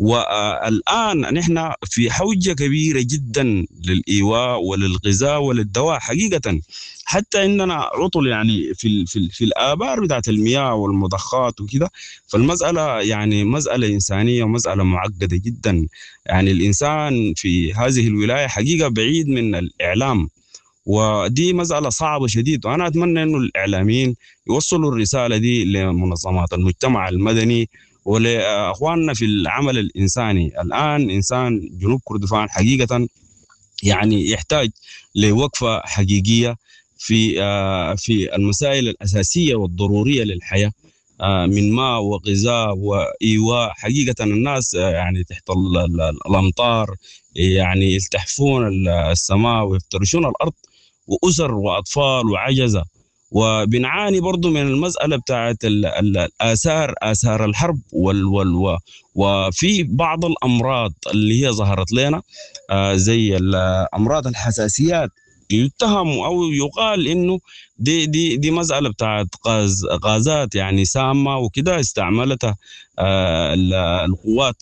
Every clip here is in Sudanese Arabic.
والآن نحن في حوجة كبيرة جدا للإيواء وللغذاء وللدواء حقيقة. حتى عندنا عطل يعني في الآبار بتاعت المياه والمضخات وكده. فالمسألة يعني مسألة إنسانية ومسألة معقدة جدا. يعني الإنسان في هذه الولاية حقيقة بعيد من الإعلام، ودي مسألة صعبة شديد. وأنا أتمنى إنه الإعلاميين يوصلوا الرسالة دي لمنظمات المجتمع المدني ولأخواننا في العمل الإنساني. الآن إنسان جنوب كردفان حقيقة يعني يحتاج لوقفة حقيقية في المسائل الأساسية والضرورية للحياة، من ماء وغذاء وإيواء. حقيقة الناس يعني تحت الأمطار يعني يلتحفون السماء ويفترشون الأرض، وأسر وأطفال وعجزة. وبنعاني برضو من المسألة بتاعت الآثار، آثار الحرب وفي بعض الأمراض اللي هي ظهرت لنا، زي أمراض الحساسيات. يتهم أو يقال إنه دي مسألة بتاعت غازات يعني سامة وكده استعملتها القوات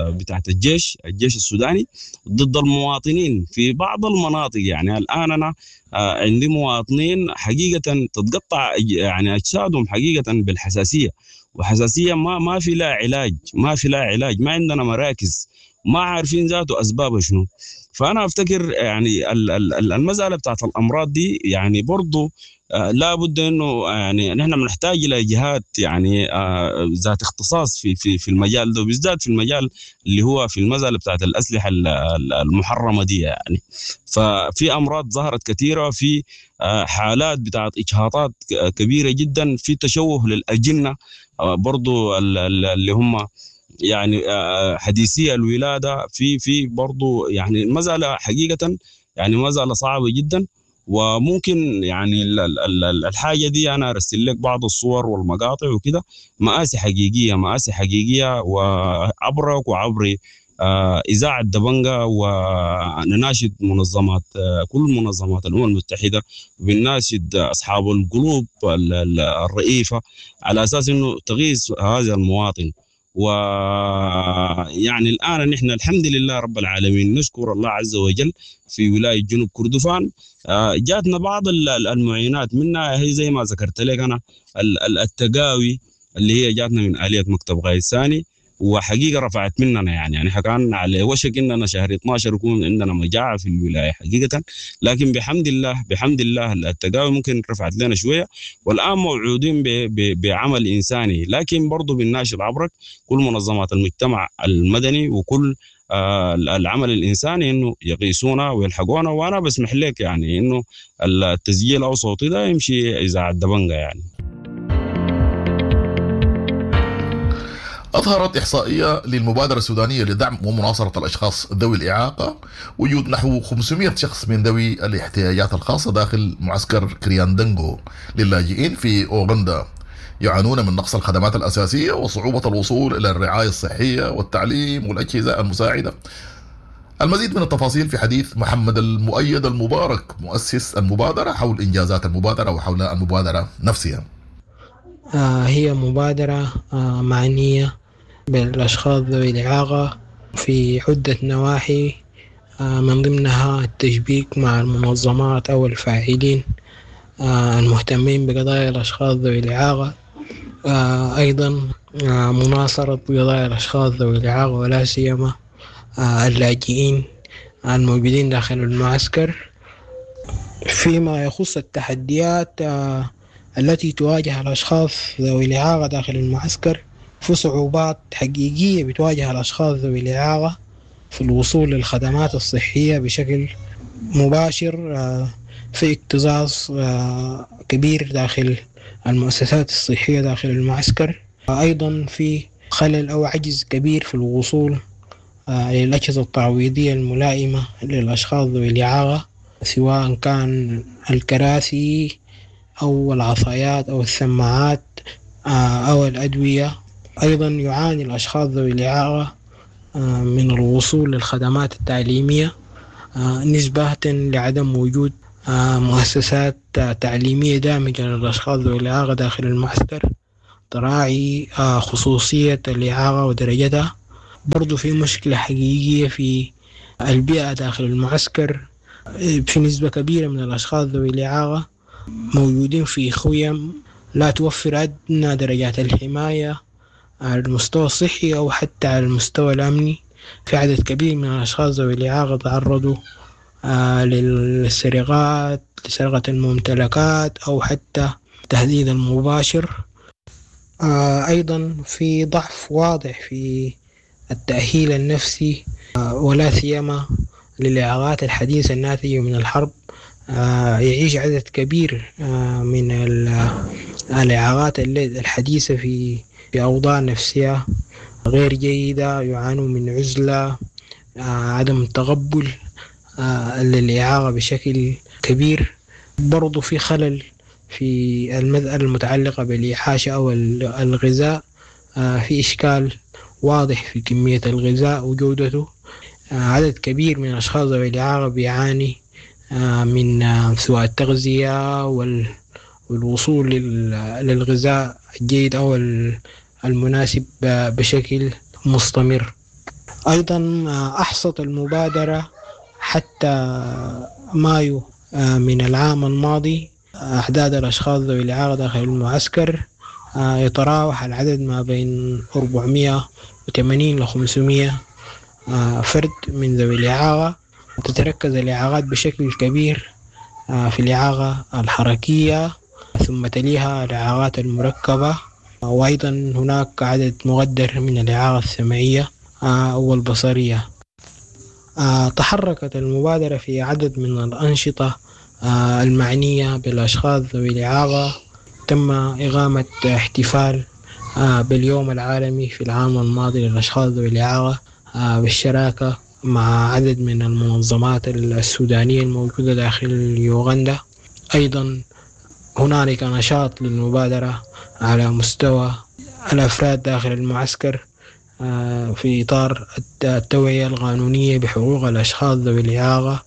بتاعت الجيش السوداني ضد المواطنين في بعض المناطق. يعني الآن أنا عندي مواطنين حقيقة تتقطع يعني أجسادهم حقيقة بالحساسية، وحساسية ما في لها علاج، ما في لها علاج، ما عندنا مراكز، ما عارفين ذاته أسبابها شنو. فأنا أفتكر يعني المسألة بتاعت الأمراض دي يعني برضو لابد إنه يعني نحن بنحتاج إلى جهات يعني ذات اختصاص في المجال ده، وبالذات في المجال اللي هو في المسألة بتاعت الأسلحة المحرمة دي يعني. ففي أمراض ظهرت كثيرة، في حالات بتاعت إجهاضات كبيرة جدا، في تشوه للأجنة، برضو اللي هم يعني حديثية الولادة، في برضو يعني المسألة حقيقة يعني مسألة صعبة جدا. وممكن يعني الحاجة دي أنا أرسل لك بعض الصور والمقاطع وكده، مآسي حقيقية، مآسي حقيقية. وعبرك وعبري إذاعة دبنجة، ونناشد منظمات، كل منظمات الأمم المتحدة، وبنناشد أصحاب القلوب الرئيفة على أساس إنه تغيث هذا المواطن. ويعني الآن نحن الحمد لله رب العالمين، نشكر الله عز وجل في ولاية جنوب كردفان جاتنا بعض المعينات، منها هي زي ما ذكرت لك أنا التقاوي اللي هي جاتنا من آلية مكتب غاية ثاني، وحقيقة رفعت مننا يعني كان على وشك إننا شهر 12 يكون عندنا مجاعة في الولاية حقيقة، لكن بحمد الله، بحمد الله التقاوي ممكن رفعت لنا شوية، والآن موعودين بعمل إنساني. لكن برضو بالناشد عبرك كل منظمات المجتمع المدني وكل العمل الإنساني إنه يقيسونا ويلحقونا. وأنا بسمح لك يعني إنه التسجيل أو صوتي ده يمشي إذاعة دبنجة يعني. أظهرت إحصائية للمبادرة السودانية لدعم ومناصرة الأشخاص ذوي الإعاقة وجود نحو 500 شخص من ذوي الاحتياجات الخاصة داخل معسكر كرياندنغو للاجئين في أوغندا، يعانون من نقص الخدمات الأساسية وصعوبة الوصول إلى الرعاية الصحية والتعليم والأجهزة المساعدة. المزيد من التفاصيل في حديث محمد المؤيد المبارك مؤسس المبادرة حول إنجازات المبادرة وحول المبادرة نفسها. هي مبادرة معنية بالأشخاص ذوي الإعاقة في عدة نواحي، من ضمنها التشبيك مع المنظمات أو الفاعلين المهتمين بقضايا الأشخاص ذوي الإعاقة، أيضا مناصرة قضايا الأشخاص ذوي الإعاقة ولا سيما اللاجئين الموجودين داخل المعسكر. فيما يخص التحديات التي تواجه الأشخاص ذوي الإعاقة داخل المعسكر، في صعوبات حقيقية بتواجه الأشخاص ذوي الإعاقة في الوصول للخدمات الصحية بشكل مباشر، في اكتظاظ كبير داخل المؤسسات الصحية داخل المعسكر، أيضا في خلل أو عجز كبير في الوصول للأجهزة التعويضية الملائمة للأشخاص ذوي الإعاقة، سواء كان الكراسي أو العصايات أو السماعات أو الأدوية. أيضا يعاني الأشخاص ذوي الإعاقة من الوصول للخدمات التعليمية نسبة لعدم وجود مؤسسات تعليمية دامجة للأشخاص ذوي الإعاقة داخل المعسكر تراعي خصوصية الإعاقة ودرجتها. برضو في مشكلة حقيقية في البيئة داخل المعسكر، في نسبة كبيرة من الأشخاص ذوي الإعاقة موجودين في خيم لا توفر أدنى درجات الحماية على المستوى الصحي أو حتى على المستوى الأمني. في عدد كبير من الأشخاص ذوي الإعاقة تعرضوا للسرقات، لسرقة الممتلكات أو حتى التهديد المباشر. أيضا في ضعف واضح في التأهيل النفسي، ولا سيما للإعاقات الحديثة الناتجة من الحرب. يعيش عدد كبير من الإعاقات الحديثة في أوضاع نفسية غير جيدة، يعانوا من عزلة، عدم تقبل للإعاقة بشكل كبير. برضو في خلل في المسألة المتعلقة بالإعاشة أو الغذاء، في إشكال واضح في كمية الغذاء وجودته. عدد كبير من الأشخاص ذوي الإعاقة بيعاني من سوء التغذية والوصول للغذاء الجيد أو المناسب بشكل مستمر. أيضا أحصت المبادرة حتى مايو من العام الماضي أعداد الأشخاص ذوي الإعاقة داخل المعسكر يتراوح العدد ما بين 480 ل 500 فرد من ذوي الإعاقة. تتركز الإعاقات بشكل كبير في الإعاقة الحركية، ثم تليها الإعاقات المركبة، وأيضا هناك عدد مقدر من الإعاقة السمعية والبصرية. تحركت المبادرة في عدد من الأنشطة المعنية بالأشخاص ذوي الإعاقة. تم إقامة احتفال باليوم العالمي في العام الماضي للأشخاص ذوي الإعاقة بالشراكة مع عدد من المنظمات السودانية الموجودة داخل يوغندا. أيضا هنالك نشاط للمبادرة على مستوى الأفراد داخل المعسكر في إطار التوعية القانونية بحقوق الأشخاص ذوي الإعاقة.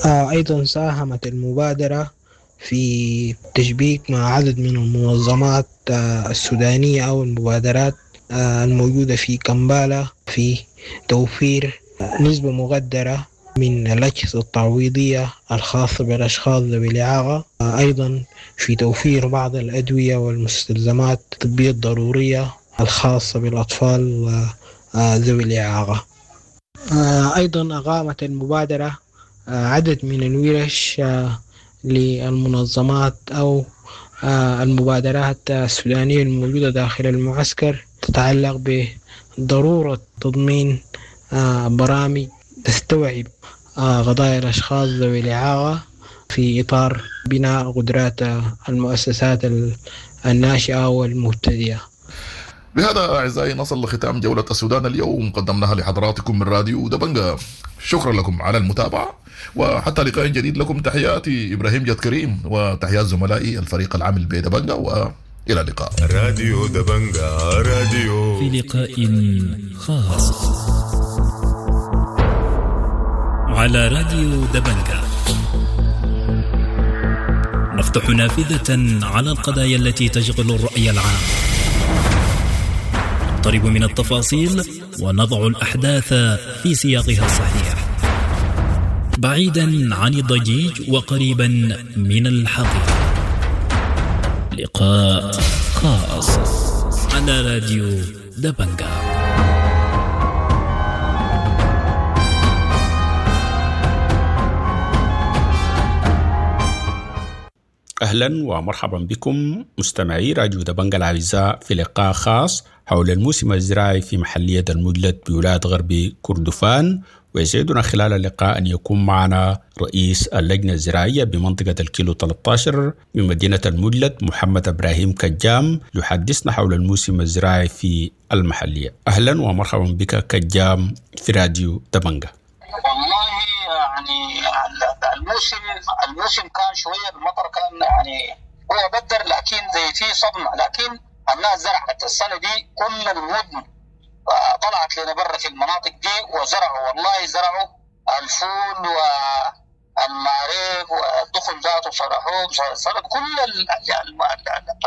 أيضا ساهمت المبادرة في تشبيك مع عدد من المنظمات السودانية أو المبادرات الموجودة في كمبالا في توفير نسبة مقدرة من الأجهزة التعويضية الخاصة بالأشخاص ذوي الإعاقة، أيضا في توفير بعض الأدوية والمستلزمات الطبية الضرورية الخاصة بالأطفال ذوي الإعاقة. أيضا أقامت المبادرة عدد من الورش للمنظمات أو المبادرات السودانية الموجودة داخل المعسكر تتعلق بضرورة تضمين برامج تستوعب قضايا الأشخاص ذوي الإعاقة في إطار بناء قدرات المؤسسات الناشئة والمبتدئة. بهذا أعزائي نصل لختام جولة السودان اليوم، قدمناها لحضراتكم من راديو دبنجا. شكرا لكم على المتابعة، وحتى لقاء جديد لكم تحياتي إبراهيم جد كريم وتحيات زملائي الفريق العامل بدبنجا، وإلى اللقاء. راديو دبنجا راديو في لقاء خاص على راديو دبنجا نفتح نافذة على القضايا التي تشغل الرأي العام، نقترب من التفاصيل ونضع الأحداث في سياقها الصحيح، بعيدا عن الضجيج وقريبا من الحقيقة. لقاء خاص على راديو دبنجا. أهلا ومرحبا بكم مستمعي راديو دبنجا الأعزاء في لقاء خاص حول الموسم الزراعي في محلية المجلد بولاية غرب كردفان، ويسعدنا خلال اللقاء أن يكون معنا رئيس اللجنة الزراعية بمنطقة الكيلو 13 بمدينة المجلد محمد إبراهيم كجام يحدثنا حول الموسم الزراعي في المحلية. أهلا ومرحبا بك كجام في راديو دبنجا. والله يعني الموسم كان شوية المطر كان يعني هو بدر، لكن زي في صدمة، لكن الناس زرعت السنة دي كل المدن طلعت لنا برا في المناطق دي وزرعوا، والله زرعوا الفول والماريق والدخن ذاته صرحوه صرح كل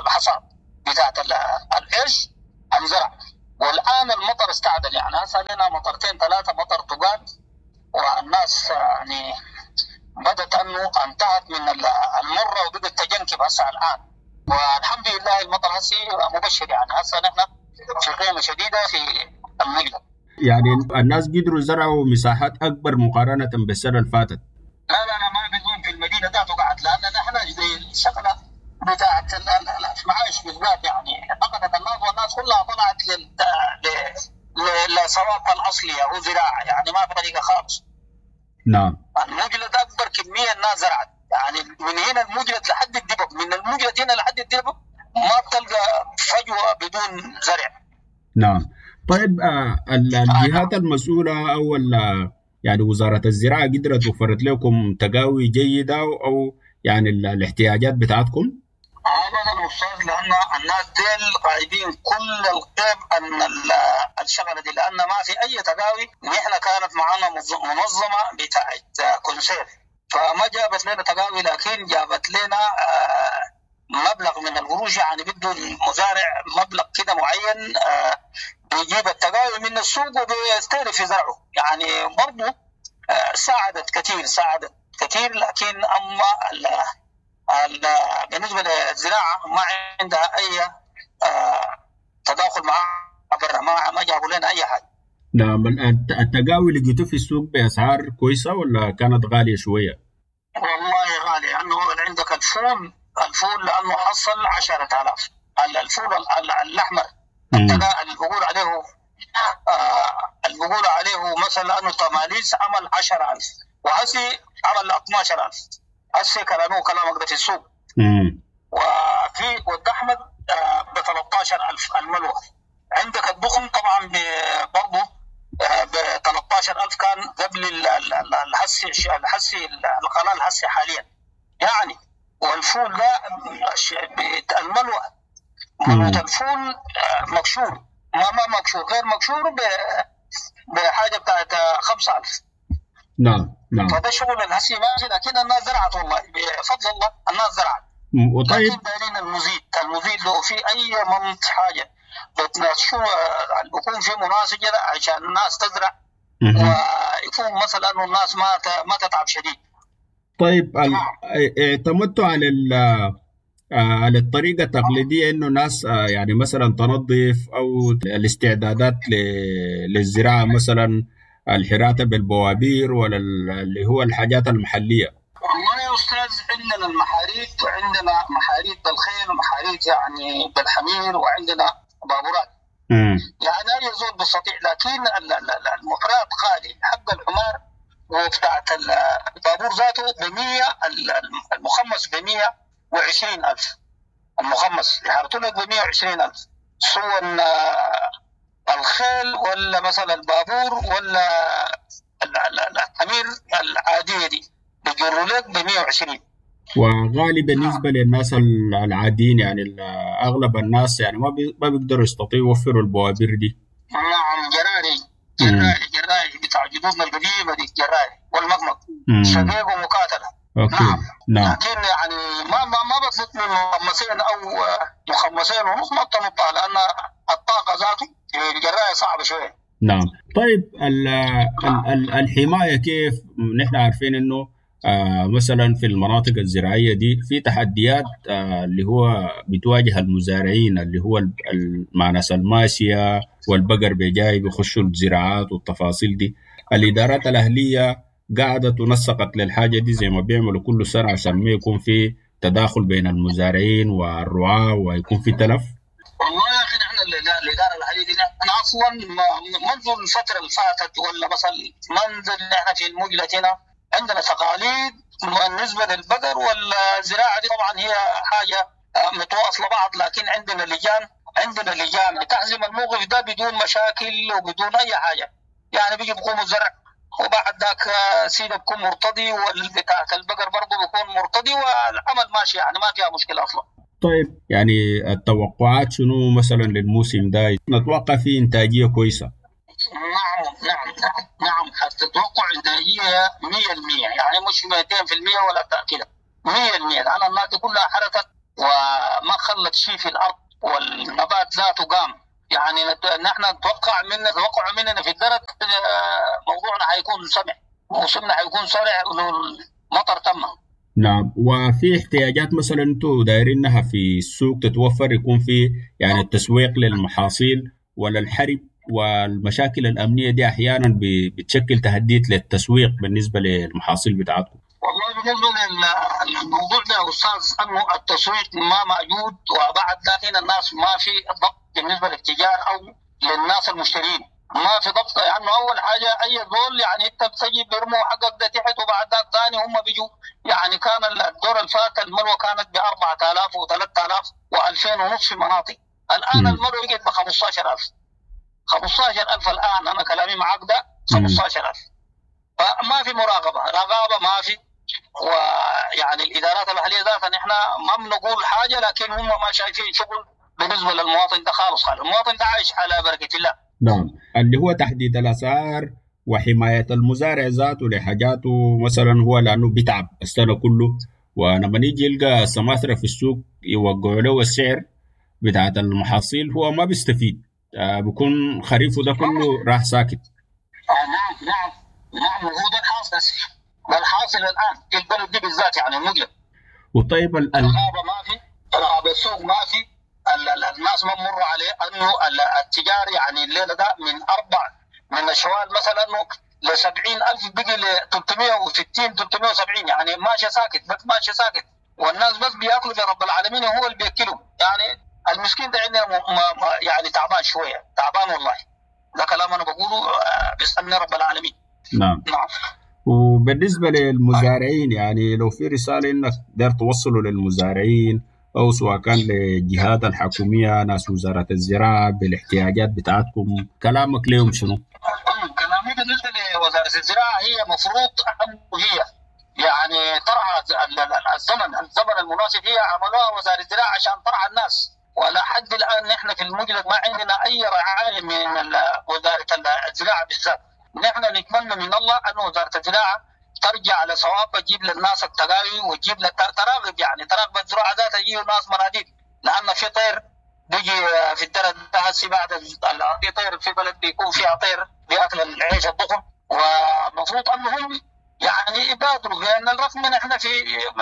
الحصاد بتاعت القرش انزرع. والان المطر استعدل، يعني هسه لنا مطرتين ثلاثة مطر تقال، والناس يعني بدت انه انتهت من المرة وبدت تجنكب هسه الان، والحمد لله المطر هسه مبشر، يعني هسه نحن في قيمة شديدة في المجلد. يعني الناس قدروا زرعوا مساحات اكبر مقارنة بالسنة اللي فاتت. لا لا لا، ما بيزول في المدينة ذاته قعد، لان نحن زي الشغلة بتاعت المعايش بالذات، يعني فقدت الناس والناس كلها طلعت لصوابها الاصلية هو زراعة، يعني ما في طريقه خالص. نعم. المجلد اكبر كمية الناس زرعت، يعني من هنا المجلد لحد الدبب، من المجلد هنا لحد الدبب ما بتلقى فجوة بدون زرع. نعم. طيب الجهات المسؤولة او يعني وزارة الزراعة قدرت وفرت لكم تقاوي جيدة او يعني الاحتياجات بتاعتكم؟ ابدا استاذ، لان الناس ديل غايبين كل الغيب ان الشغلة دي، لان ما في اي تقاوي. نحن كانت معنا منظمة بتاعت كونسير، فما جابت لنا تقاوي، لكن جابت لنا مبلغ من القروش، يعني بده المزارع مبلغ كده معين بيجيب التقاوي من السوق وبيستهلك في زرعه، يعني برضه ساعدت كثير، ساعدت كثير. لكن اما بالنسبة للزراعة ما عندها اي تداخل مع برا، ما جابوا لنا اي حاجة. نعم. التقاوي لقيتوه في السوق باسعار كويسة ولا كانت غالية شوية؟ والله غالية، لانه عندك الفول لانه حصل 10,000، الفول الاحمر اللي بقول عليه اللي بقول عليه مثلا انه تماليس عمل 10,000، وهسي عمل 12,000 هسي كلامه كلامك ده في السوق. وفي ود احمد ب 13,000 الملوه. عندك الدخن طبعا برضه ب 13,000 كان قبل الحسي القناة الحسي حاليا يعني. والفول ده الملوه، ملوه الفول مكشور، ما مكشور، غير مكشور بحاجة بتاعت 5,000. نعم نعم. فده شغل الهسي ماشي، لكن الناس زرعت والله بفضل الله الناس زرعت. وطيب لكن دايرين المزيد لو في اي منط حاجة بتناشوا يكون في مناسجه عشان الناس تزرع، ويكون مثلا انه الناس ما تتعب شديد. طيب اعتمدتوا على على الطريقة التقليدية انه ناس يعني مثلا تنظف او الاستعدادات للزراعة، مثلا الحراتة بالبوابير ولا اللي هو الحاجات المحلية؟ والله يا أستاذ عندنا المحاريت، وعندنا محاريت بالخيل ومحاريت يعني بالحمير، وعندنا بابورات. يعني أي زول بيستطيع، لكن المحرات غالي، حق الحمار وبتاعت البابور ذاته ب100، المخمس ب120,000، المخمس يحرطوا لك ب120,000، سواء الخيل ولا مثلا البابور ولا الحمير العادية دي بيجروا لك ب120. وغالي بالنسبة للناس العاديين، يعني اغلب الناس يعني ما بيقدروا يستطيعوا يوفروا البوابير دي. نعم، جراري جراري بتاع جدودنا القديمة دي، جراري والمقمق شقيق ومقاتله. okay. نعم. نعم. لكن يعني ما بتنط من مخمسين او مخمسين ونص، ما بتنطها لان الطاقة ذاته الجرايه صعبة شوية. نعم. طيب الحماية كيف؟ نحن عارفين انه مثلا في المناطق الزراعية دي في تحديات اللي هو بتواجه المزارعين، اللي هو مع ناس الماشية والبقر بيجاي بيخشوا الزراعات والتفاصيل دي. الادارات الاهلية قعدت ونسقت للحاجة دي زي ما بيعملوا كل سنة عشان ما يكون في تداخل بين المزارعين والرعاة ويكون في تلف؟ والله يا اخي نحن الادارة الاهلية دي نحن اصلا منذ الفترة اللي فاتت، ولا مثلا منذ نحن في المجلة هنا عندنا تقاليد بالنسبة للبقر والزراعة دي، طبعا هي حاجة متواصلة بعض، لكن عندنا لجان بتحزم الموقف ده بدون مشاكل وبدون اي حاجة. يعني بيجي بيقوموا الزرع وبعد ذاك سيده بيكون مرتضي، والبتاعة البقر برضه بيكون مرتضي، والعمل ماشي يعني ما فيها مشكلة اصلا. طيب يعني التوقعات شنو مثلا للموسم ده؟ نتوقع فيه انتاجية كويسة؟ نعم نعم نعم نعم، حتتوقع انتاجية 100%، يعني مش 200% ولا كده، 100%، لان الناس كلها حركت وما خلت شيء في الارض، والنبات ذاته قام. يعني نحن نتوقع من توقعوا مننا في الدرك موضوعنا حيكون سمح، موسمنا حيكون سرع لو المطر تم. نعم، وفي احتياجات مثلا انتم دايرينها في السوق تتوفر، يكون في يعني التسويق للمحاصيل ولا الحرب والمشاكل الأمنية دي أحيانا بتشكل تهديد للتسويق بالنسبة للمحاصيل بتاعتكم؟ والله بالنسبة للموضوع ده يا أستاذ، أنه التسويق ما موجود، وبعد لكن الناس ما في ضبط بالنسبة للتجار أو للناس المشترين، ما في ضبط. لأنه يعني أول حاجة أي زول يعني أنت بتجي بيرموا حقك ده تحت، وبعد ذاك ثاني هم بيجوا. يعني كان الدور الفات الملوى كانت ب 4000 و3000 و2000 ونص في مناطق، الآن الملوى بقت ب 15000. 15000 الآن، أنا كلامي معاك ده 15000. فما في مراقبة، رقابة ما في. ويعني الإدارات المحلية ذاتها نحن ما بنقول حاجة، لكن هم ما شايفين شغل بالنسبة للمواطن ده خالص. المواطن ده عايش على بركة الله. نعم، اللي هو تحديد الأسعار وحماية المزارع ذاته لحاجاته مثلا، هو لأنه بيتعب السنة كله، ولما يجي يلقى سماسرة في السوق يوقعوا له السعر بتاعت المحاصيل، هو ما بيستفيد، بيكون خريفه ده كله راح ساكت. نعم نعم نعم، هو ده الحاصل، ده الحاصل الآن في البلد دي بالذات، يعني المجلس. وطيب الغابة ما في، رغبة السوق ما في، الناس ما مروا عليه انه التجار يعني الليلة ده من 4 من الشوال مثلا ل 70000 بقي ل 360 370، يعني ماشي ساكت، بس ماشي ساكت، والناس بس بياكلوا برب العالمين هو اللي بياكلهم. يعني المسكين ده عندنا يعني تعبان شوية، تعبان والله. ده كلام انا بقوله بيسالني رب العالمين. نعم نعم. وبالنسبة للمزارعين، يعني لو في رسالة انك داير توصله للمزارعين أو سواء كان للجهات الحكومية، ناس وزارة الزراعة، بالاحتياجات بتاعتكم، كلامك ليهم شنو؟ كلامي بالنسبة لوزارة الزراعة، هي مفروض أنه هي يعني ترعى الزمن المناسب، هي عملوها وزارة الزراعة عشان ترعى الناس، ولا حد الآن نحن في المجلس ما عندنا أي رعاية من وزارة الزراعة بالذات. نحن نتمنى من الله أن وزارة الزراعة ترجع لصواب، تجيب للناس التقاوي وتجيب تراغب، يعني تراغب الزراعة ذاتها، تجيب الناس مناديب، لأن في طير بيجي في الدرة هسي بعد في طير في بلد بيكون فيها طير بياكل العيش الضخم، ومفروض أنهم يعني يبادروا، لأن الرغم من احنا في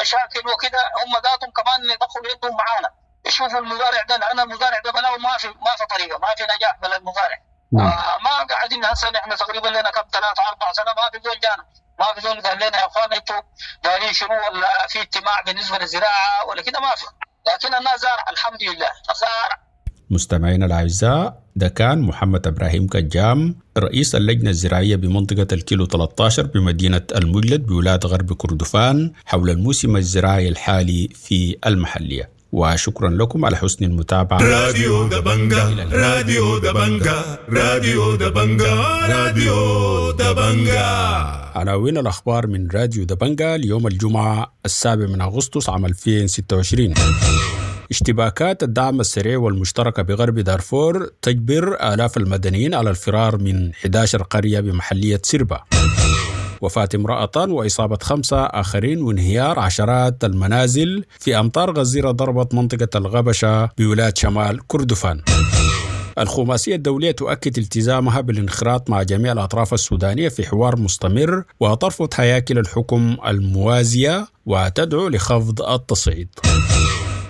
مشاكل وكده هم ذاتهم كمان يدخلوا يدهم معانا، يشوفوا المزارع ده، لأن المزارع ده بلاو ما في طريقة، ما في نجاح بلا المزارع. ما قاعدين هسه نحن تقريبا لنا كم 3 4 سنة ما في زول جانا، ما في زول قال لنا يا اخوان انتوا دارين شنو، ولا في اجتماع بالنسبة للزراعة ولا كده، ما في. لكن الناس زارع الحمد لله زارع. مستمعينا الاعزاء، ده كان محمد ابراهيم كجام، رئيس اللجنة الزراعية بمنطقة الكيلو 13 بمدينة المجلد بولاية غرب كردفان، حول الموسم الزراعي الحالي في المحلية. وشكرا لكم على حسن المتابعة. راديو دبنجا، راديو دبنجا، راديو دبنجا، راديو دبنجا. عناوين الأخبار من راديو دبنجا اليوم الجمعة 7 من أغسطس عام 2026. اشتباكات الدعم السريع والمشتركة بغرب دارفور تجبر آلاف المدنيين على الفرار من 11 قرية بمحلية سربا. وفاة امرأتان وإصابة 5 آخرين وانهيار عشرات المنازل في أمطار غزيرة ضربت منطقة الغبشة بولاية شمال كردفان. الخماسية الدولية تؤكد التزامها بالانخراط مع جميع الأطراف السودانية في حوار مستمر، وترفض هياكل الحكم الموازية وتدعو لخفض التصعيد.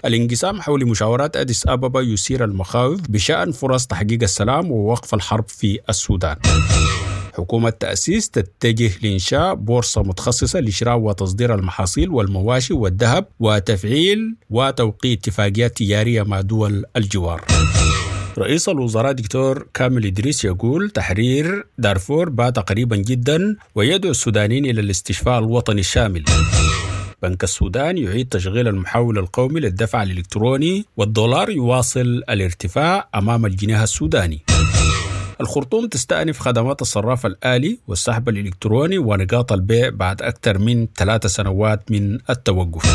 الانقسام حول مشاورات أديس أبابا يثير المخاوف بشأن فرص تحقيق السلام ووقف الحرب في السودان. حكومة تأسيس تتجه لإنشاء بورصة متخصصة لشراء وتصدير المحاصيل والمواشي والذهب، وتفعيل وتوقيع اتفاقيات تجارية مع دول الجوار. رئيس الوزراء دكتور كامل إدريس يقول تحرير دارفور بات قريبا جدا، ويدعو السودانيين إلى الاستشفاء الوطني الشامل. بنك السودان يعيد تشغيل المحول القومي للدفع الإلكتروني، والدولار يواصل الارتفاع أمام الجنيه السوداني. الخرطوم تستأنف خدمات الصراف الآلي والسحب الإلكتروني ونقاط البيع بعد أكثر من 3 سنوات من التوقف.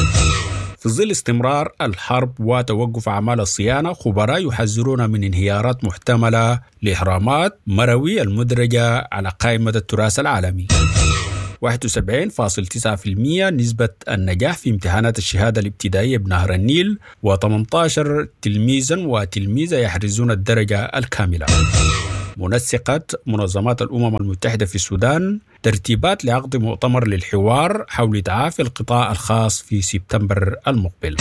في ظل استمرار الحرب وتوقف أعمال الصيانة، خبراء يحذرون من انهيارات محتملة لإهرامات مروي المدرجة على قائمة التراث العالمي. 71.9% نسبة النجاح في امتحانات الشهادة الابتدائية بنهر النيل، و18 تلميذا وتلميذة يحرزون الدرجة الكاملة. منسقة منظمات الأمم المتحدة في السودان ترتيبات لعقد مؤتمر للحوار حول تعافي القطاع الخاص في سبتمبر المقبل.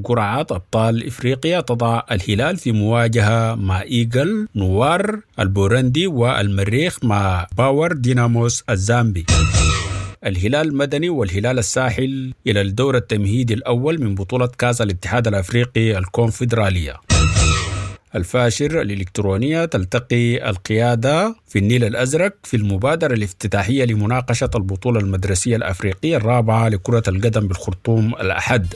قرعة أبطال إفريقيا تضع الهلال في مواجهة مع إيجل نوار البورندي والمريخ مع باور ديناموس الزامبي. الهلال المدني والهلال الساحل إلى الدور التمهيدي الأول من بطولة كأس الاتحاد الأفريقي الكونفدرالية. الفاشر الإلكترونية تلتقي القيادة في النيل الأزرق في المبادرة الافتتاحية لمناقشة البطولة المدرسية الأفريقية الرابعة لكرة القدم بالخرطوم الأحد.